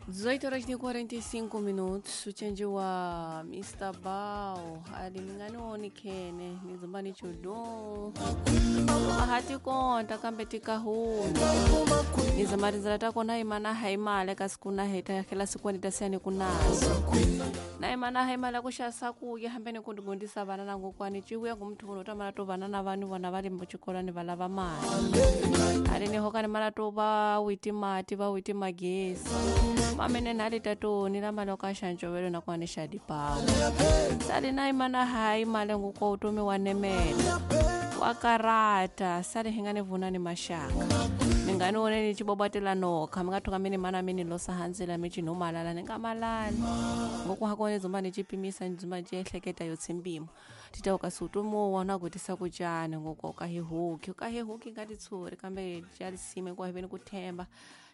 18 horas e 45 minutos uchenjiwa Mr. Bao ali ningani khene nizomba ni chudu bahati konta kambe tikahumi nizamarizira tako naimana haimale kasi kuna heta kila siku nitasiyani kunazo naimana haimale kushasa kuya hambeni kundigundisa vana nangu kwani chiuya ngumthu uno tamala to vana na vani vona vali muchikolani valava mali ali nihokani mala to va witi mati va witi magesi mamene nali tatoni la mali okaxanjovelo nakwani xa dipawu sali naimana haimale nguko utomi wa nemela wa karata sali hi nga ni vunani maxaka mi nga ni voneni cibobatela noka mi nga thuka mi ni mana mi ni losa handzela mi cinhumalala ni nga malali ngoku hakone dzumba ni cipimisa ni dzumba ni ciehleketa yo tsimbimo tita ukasi utomi wo wona ku tisa ku cani ngoku ukahihuki ukahihuki nga titshuri kambe ca lisime ku hiveni ku themba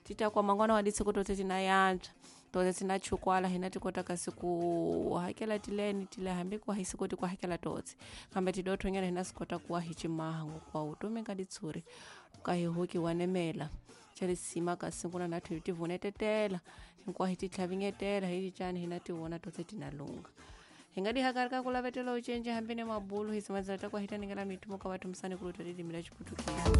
tita kwa mangwana wa ditshiko totse tina yantswa totse tina chukwala hina ti kota kasi ku hakela tileni tile hambi ku hi sikoti ku hakela totse kambe tidothonyana hina swi kota ku wa hi cimaha ngoku utomi nga ditshuri ukahihuki wa nemela ca lisima kasi kuna na thi tivunetetela hinkwaho hi titlhavingetela hi ticani hina tivona totse tina lunga hi nga dihakarika ku lavetela ucenje hambi ni mabulu hi simadzela ta ku hi ta ningela mithumo ka vathu musani ku lutwa lilimi la chiputukezi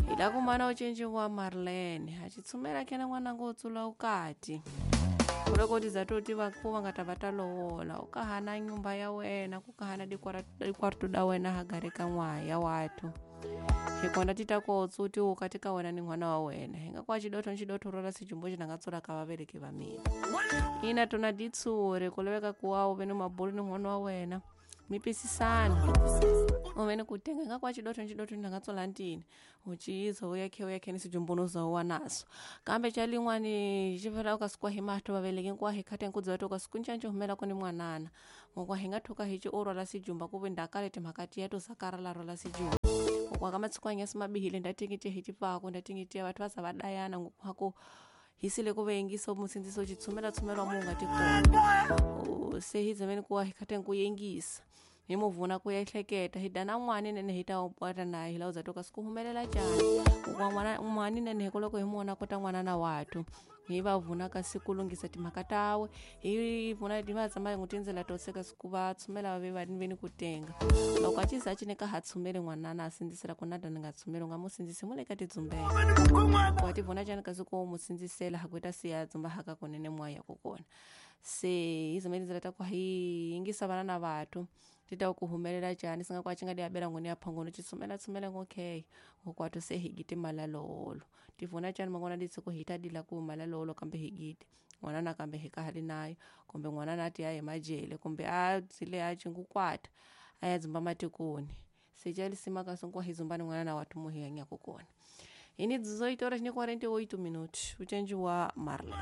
hi la kumana ucenje wa marlene a chitsumela khena n'wananga u tsula ukati kuloko tizatoti vaku va nga ta va ta lovola u ka hana nyumba ya wena ku ka hana dikwarto da wena hagare ka n'waya wathu hikona ti ta ko tsuti ukati ka wena ni n'wana wa wena hi nga kwa xidotho ni xidotho rola sijumbo xi nga tsula ka vaveleki va mina ina tona ditsuri ku laveka ku wa u ve ni mabulu ni n'wana wa wena mi pisisana u ve ni ku tenga nga kwa xidotho ni xidotho ni nga tsula ntini u ciyiza u yakhe u yakhe ni sijumbuno za wa naso kambe xa lin'wani xi vela u ka sikwa hi mahlo vaveleki nkuwa hi khate nku dzota u ka siku ncanci humela ku ni mwanana ngokwa hi nga thuka hi ci u rhwala sijumba ku ve ndakale timhaka tiya to sakarala rhwala sijumba ngokwa ka matshikwanya simabihile ndatingitiya hi tipfako ndatingitiya vathu va za va dayana ngokwako hisile ku veyengisa musindziso xitshumela tshumela mu nga tikona se hi dzemeni kuwa hi khate ku yengisa hi mu vuna ku ehleketa hi dana n'wani nene hi ta upata naye hi la u za toka siku humelela cani kwa n'wana n'wani nene hi loko hi mu vona kota n'wana na wathu hi va vuna kasi ku lunghisa timhaka tawe hi vuna hi va tshama n'wi tindzela to seka siku va tshumela va ve va ve ni ku tenga loko a ciza a cineka ha tshumeli n'wanana a sindzisela ku nada ni nga tshumeli u nga mu sindzisi mu le ka tidzumbela wa ti vona cani kasi ku mu sindzisela ha ku ta siya dzumba haka kunene moya ku kona se hi zama tindzela ta ku hi yingisa vana na vathu ti ta ku humelela cani singa kwa ci nga diabela ngoni ya phongono ci tshumela tshumela ngokhe ngokwathu se hi giti malalolo ti vona cani mangwana ditshiko hi ta dila ku malalolo kambe hi giti n'wana nakambe hi ka hali nayo kumbe n'wana na ti ya hi majele kumbe a dzile a cingukwata a ya dzumba matikoni se ca lisima kasi nkuwa hi dzumba ni n'wana na wathu mu hi hanyaka kona hi ni 18 horas ni 48 minutos ucenji wa marlene.